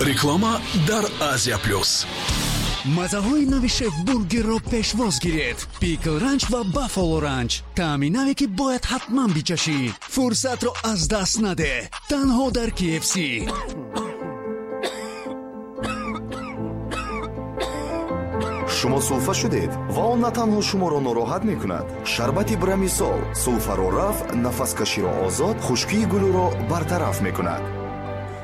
Реклама дар Азия Плюс. Мазаҳои нави Шеф Бургерро пешвоз гиред. Пикл Ранч ва Баффало Ранч. Таъми наве, ки бояд ҳатман бичашӣ. Фурсатро аз даст надеҳ. Танҳо дар KFC. Шумо сулфа шудед ва он на танҳо шуморо нороҳат мекунад. Шарбати Брамисол сулфаро рафъ, нафаскаширо озод, хушкии гулӯро бартараф мекунад.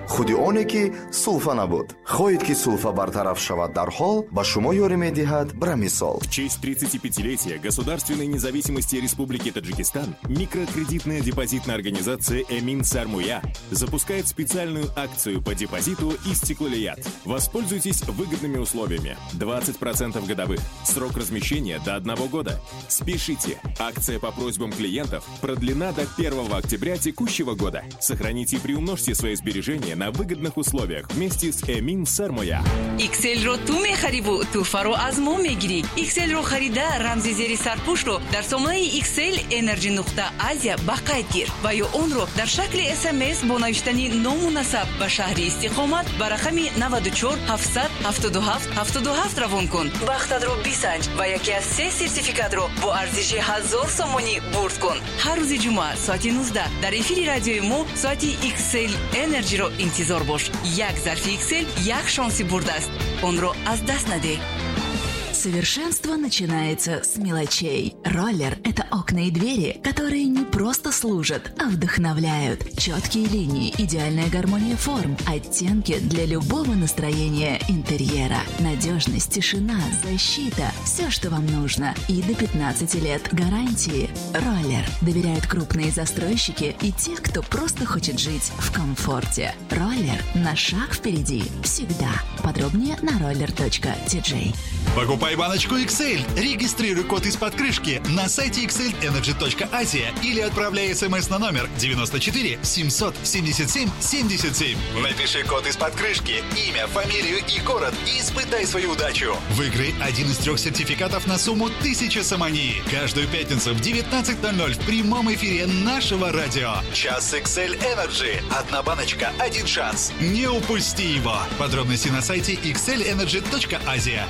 Худи оне ки сулфа набуд. Хоҳед, ки сулфа бартараф шавад дарҳол, ба шумо ёрӣ медиҳад Брамисол. В честь 35-летия государственной независимости Республики Таджикистан микрокредитная депозитная организация «Эмин Сармоя» запускает специальную акцию по депозиту «Истиклолият». Воспользуйтесь выгодными условиями. 20% годовых. Срок размещения до 1 года. Спешите! Акция по просьбам клиентов продлена до 1 октября текущего года. Сохраните и приумножьте свои сбережения на выгодных условиях вместе с «Эмин Сармоя». XL-ро ту мехариву тӯҳфаро аз мо мегирӣ. XL-ро харида, рамзи зери сарпӯшро дар сомонаи XL Energy нуқта Азия ба қайд гир ва ё онро дар шакли СМС бо навиштани ному насаб ба шаҳри истиқомат ба рақами 94 777 77 равон кун. Бахтатро бисанҷ ва яке аз се сертификатро бо арзиши 1000 сомонӣ бурд кун. Ҳар рӯзи ҷумъа соати 19 дар эфири радиои мо соати XL Energy-ро интизор бош. Як зарфи XL як шонси бурд аст. Онро аз даст надеҳ. Совершенство начинается с мелочей. Роллер – это окна и двери, которые не просто служат, а вдохновляют. Четкие линии, идеальная гармония форм, оттенки для любого настроения интерьера. Надежность, тишина, защита – все, что вам нужно. И до 15 лет гарантии. Роллер доверяют крупные застройщики и те, кто просто хочет жить в комфорте. Роллер на шаг впереди всегда. Подробнее на roller.tj. Покупай баночку XL, регистрируй код из-под крышки на сайте xlenergy.asia или отправляй смс на номер 94 777 77. Напиши код из-под крышки, имя, фамилию и город и испытай свою удачу. Выиграй один из 3 сертификатов на сумму 1000 сомони. Каждую пятницу в 19:00 в прямом эфире нашего радио. Час XL Energy. Одна баночка, один шанс. Не упусти его. Подробности на сайте xlenergy.asia.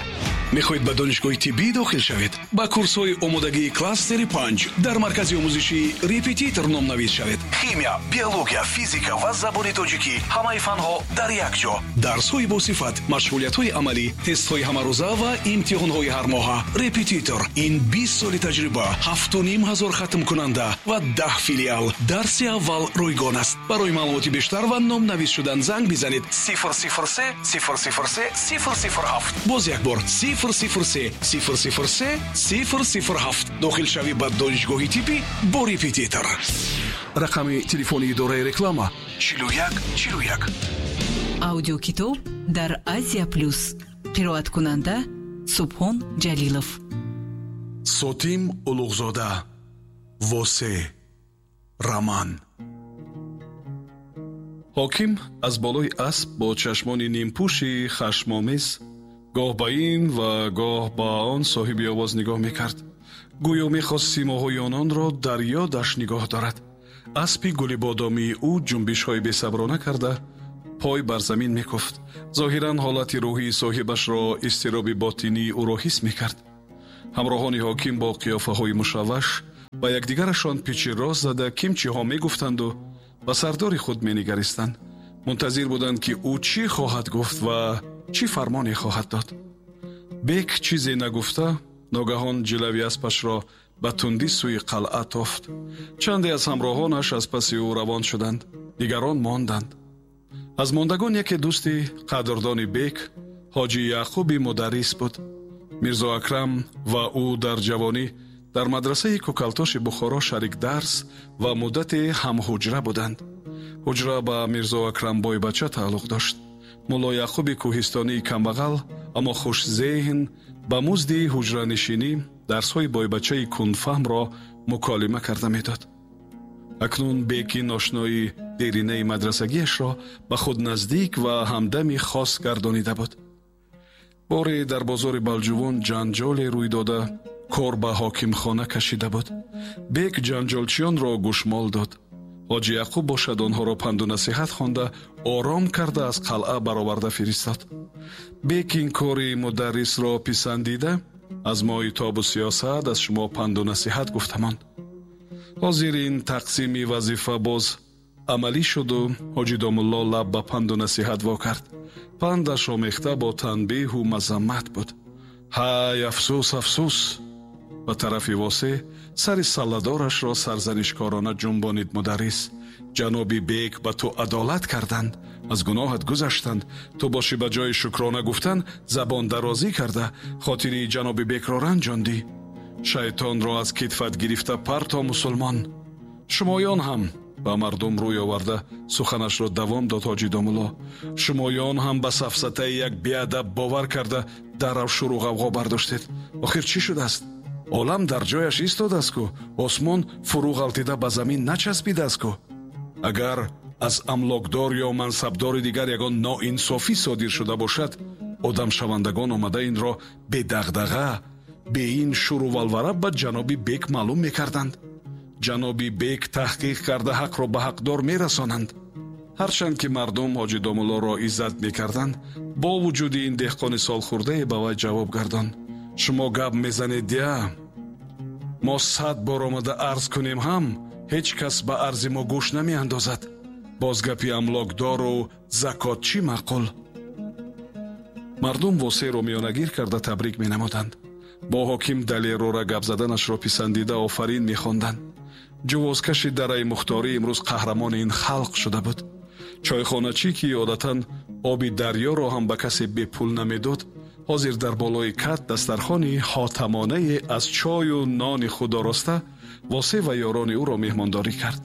Мехоҳед ба донишгоҳи тиббӣ дохил шавед? Ба курсҳои омодагии кластери 5 дар маркази омӯзишии Репетитор номнавис шавед. Химия, биология, физика ва забони тоҷикӣ, ҳамаи фанҳо дар як ҷо. Дарсҳои босифат, машғулиятҳои амалӣ, тестҳои ҳамарӯза ва имтиҳонҳои ҳармоҳа. Репетитор ин 20 соли таҷриба, 7500 хатмкунанда ва 10 филиал. Дарси аввал ройгон аст. Барои маълумоти бештар ва номнавис шудан занг бизанед 003 003 007. Боз як бор 003 003 007. Дохилшавӣ ба донишгоҳи тиббӣ бо Репетитор. Рақами телефони идораи реклама 41 41. Аудиокитоб дар Азия Плюс. Қироаткунанда Субҳон Ҷалилов. Сотим Улуғзода. Восе. Роман. Ҳоким аз болои асп бо чашмони нимпӯши хашмомез гоҳ ба ин ва гоҳ ба он соҳиби овоз нигоҳ мекард. Гӯё мехост симоҳои ононро дар ёдаш нигоҳ дорад. Аспи гулибодомии ӯ ҷунбишҳои бесаброна карда пой бар замин мекуфт. Зоҳиран ҳолати рӯҳии соҳибашро, изтироби ботинии ӯро ҳис мекард. Ҳамроҳони ҳоким бо қиёфаҳои мушавваш ба якдигарашон пичи рост зада кимчиҳо мегуфтанду ба сардори худ менигаристанд. Мунтазир буданд, ки ӯ чӣ хоҳад гуфт ва чӣ фармоне хоҳад дод. Бек чизе нагуфта ногаҳон ҷилави аспашро ба тундӣ сӯи қалъа тофт. Чанде аз ҳамроҳонаш аз паси ӯ равон шуданд, дигарон монданд. Аз мондагон яке дӯсти қадрдони бек, ҳоҷи Яъқуби мударрис буд. Мирзо Акрам ва ӯ дар ҷавонӣ дар мадрасаи Кӯкалтоши Бухоро шарик дарс ва муддате ҳамҳуҷра буданд. Ҳуҷра ба Мирзо Акрам бойбача тааллуқ дошт. Мулло Яъқуби кӯҳистонии камбағал, аммо хушзеҳн, ба музди ҳуҷранишинӣ дарсҳои бойбачаи кундфаҳмро муколима карда медод. Акнун беки ношинои деринаи мадрасагиашро ба худ наздик ва ҳамдами хос гардонида буд. Боре дар бозори Балҷувон ҷанҷоле рӯй дода, кор ба ҳокимхона кашида буд. Бек ҷанҷолчиёнро гӯшмол дод. Ҳоҷи Яъқуб бошад онҳоро панду насиҳат хонда, ором карда аз қалъа бароварда фиристод. Бек ин кори мударрисро писандида, аз мои тобу сиёсат аз шумо панду насиҳат гуфта монд. Ҳозир ин тақсими вазифа боз амалӣ шуду ҳоҷи домулло лаб ба панду насиҳат во кард. Пандаш омехта бо танбеҳу мазаммат буд. Ҳай, афсӯс, афсӯс! Ба тарафи Восеъ сари салладорашро сарзанишкорона ҷунбонид мударрис. Ҷаноби бек ба ту адолат карданд, аз гуноҳат гузаштанд. Ту бошӣ ба ҷои шукрона гуфтан забондарозӣ карда, хотири ҷаноби бекро ранҷондӣ. Шайтонро аз китфат гирифта парто, мусулмон. Шумоён ҳам ба мардум рӯй оварда суханашро давом дод ҳоҷи домулло. Шумоён ҳам ба сафсатаи як беадаб бовар карда дарав шуру ғавғо бардоштед. Охир чӣ шудааст? Олам дар ҷояш истодааст ку, осмон фурӯ ғалтида ба замин начаспидааст ку. Агар аз амлокдор ё мансабдори дигар ягон ноинсофӣ содир шуда бошад, одамшавандагон омада инро бедағдаға, бе ин шуру валвара ба ҷаноби бек маълум мекарданд. Ҷаноби бек таҳқиқ карда ҳақро ба ҳақдор мерасонанд. Ҳарчанд ки мардум ҳоҷи домуллоро иззат мекарданд, бо вуҷуди ин деҳқони солхӯрдае ба вай ҷавоб гардонд: шумо гап мезанед дия, мо 100 бор омада арз кунем ҳам ҳеҷ кас ба арзи мо гӯш намеандозад. Боз гапи амлокдору закот чӣ маъқул? Мардум Восеъро миёнагир карда табрик менамуданд. Бо ҳоким далерора гап заданашро писандида офарин мехонданд. Ҷувозкаши дараи мухторӣ имрӯз қаҳрамони ин халқ шуда буд. Чойхоначӣ ки одатан оби дарёро ҳам ба касе бепул намедод, ҳозир дар болои кат дастархони ҳотамонае аз чою нони худ ороста Восеъ ва ёрони ӯро меҳмондорӣ кард.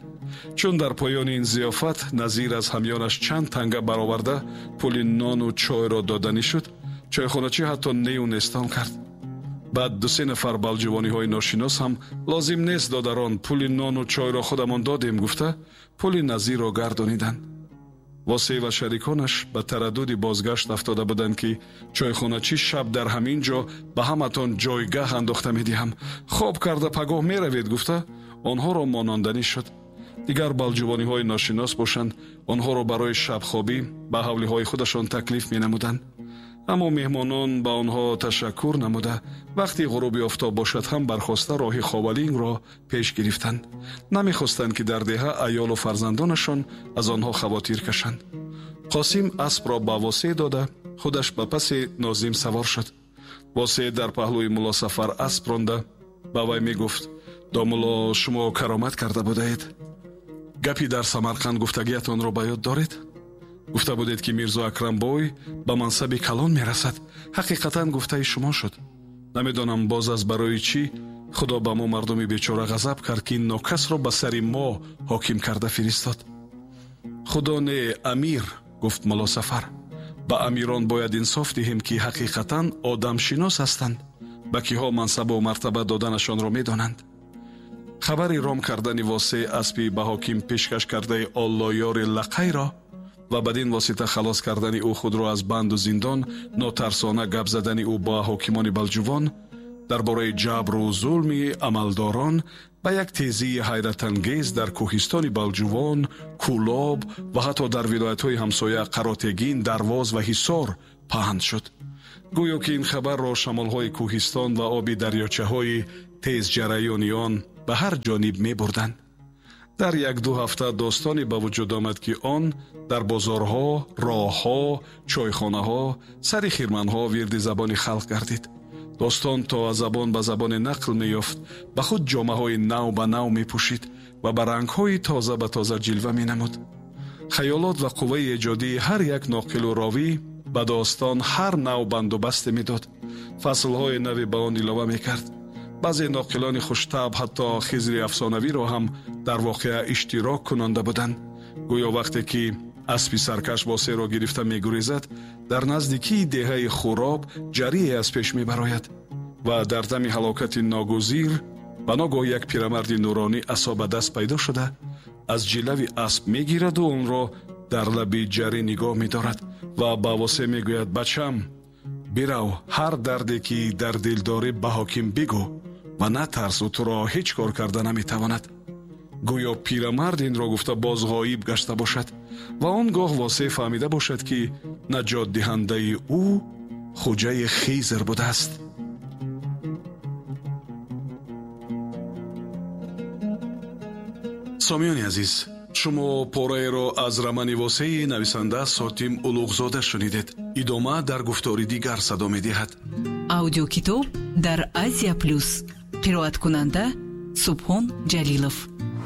Чун дар поёни ин зиёфат Назир аз ҳамёнаш чанд танга бароварда пули нону чойро доданӣ шуд, чойхоначӣ ҳатто нею нестон кард. Баъд ду-се нафар балҷувониҳои ношинос ҳам лозим нест додарон, пули нону чойро худамон додем гуфта пули Назирро гардониданд. Восеъ ва шариконаш ба тараддуди бозгашт афтода буданд, ки чойхоначӣ шаб дар ҳамин ҷо ба ҳаматон ҷойгаҳ андохта медиҳам, хоб карда пагоҳ меравед гуфта онҳоро мононданӣ шуд. Дигар балҷувониҳои ношинос бошанд, онҳоро барои шабхобӣ ба ҳавлиҳои худашон таклиф менамуданд. Аммо меҳмонон ба онҳо ташаккур намуда, вақти ғуруби офтоб бошад ҳам бархоста роҳи Ховалингро пеш гирифтанд. Намехостанд, ки дар деҳа аёлу фарзандонашон аз онҳо хавотир кашанд. Қосим аспро ба Восеъ дода, худаш ба паси Нозим савор шуд. Восеъ дар паҳлӯи Муллосафар асп ронда ба вай мегуфт: домулло, шумо каромат карда будаед. Гапи дар Самарқанд гуфтагиятонро ба ёд доред? Гуфта будед, ки Мирзо Акрамбой ба мансаби калон мерасад. Ҳақиқатан гуфтаи шумо шуд. Намедонам боз аз барои чӣ Худо ба мо мардуми бечора ғазаб кард, ки ин нокасро ба сари мо ҳоким карда фиристод. Худо не, амир, гуфт Муллосафар. Ба амирон бояд инсоф диҳем, ки ҳақиқатан одамшинос ҳастанд, ба киҳо мансабу мартаба доданашонро медонанд. Хабари ром кардани Восеъ аспи ба ҳоким пешкаш кардаи Оллоёри Лақайро ва бадин восита халос кардани ӯ худро аз банду зиндон, нотарсона гап задани ӯ бо ҳокимони балҷувон дар бораи ҷабру зулми амалдорон ба як тезии ҳайратангез дар кӯҳистони Балҷувон, Кӯлоб ва ҳатто дар вилоятҳои ҳамсоя Қаротегин, Дарвоз ва Ҳисор паҳн шуд. Гӯё ки ин хабарро шамолҳои кӯҳистон ва оби дарёчаҳои тезҷараёни он ба ҳар ҷониб мебурданд. Дар як-ду ҳафта достоне ба вуҷуд омад, ки он дар бозорҳо, роҳҳо, чойхонаҳо, сари хирманҳо вирди забони халқ гардид. Достон то аз забон ба забоне нақл меёфт, ба худ ҷомаҳои нав ба нав мепӯшид ва ба рангҳои тоза ба тоза ҷилва менамуд. Хаёлот ва қувваи эҷодии ҳар як ноқилу ровӣ ба достон ҳар нав бандубасте медод, фаслҳои нави ба он илова мекард. Баъзе ноқилони хуштаб ҳатто Хизри афсонавиро ҳам дар воқеа иштирок кунонда буданд. Гӯё вақте ки аспи саркаш Восеъро гирифта мегурезад, дар наздикии деҳаи Хуроб ҷарие аз пеш мебарояд ва дар дами ҳалокати ногузир ба ногоҳ як пирамарди нуронӣ асо ба даст пайдо шуда, аз ҷилави асп мегираду онро дар лаби ҷарӣ нигоҳ медорад ва ба Восеъ мегӯяд: бачам, бирав, ҳар дарде ки дар дил дорӣ ба ҳоким бигӯ ва натарс, ӯ туро ҳеҷ кор карда наметавонад. Гӯё пирамард инро гуфта боз ғоиб гашта бошад ва он гоҳ Восеъ фаҳмида бошад, ки наҷотдиҳандаи ӯ Хуҷаи Хизр будааст. Сомиёни азиз, шумо пораеро аз романи Восеи нависанда Сотим Улуғзода шунидед. Идома дар гуфтори дигар садо медиҳад. Аудиокитоб дар Азия Плюс. Қироаткунанда Субҳон Ҷалилов.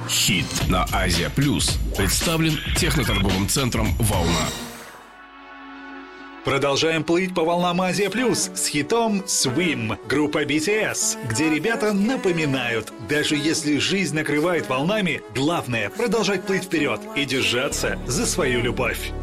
Хит на Азия Плюс представлен техноторговым центром «Волна». Продолжаем плыть по волнам Азия Плюс с хитом «Swim» группа BTS, где ребята напоминают, даже если жизнь накрывает волнами, главное — продолжать плыть вперед и держаться за свою любовь.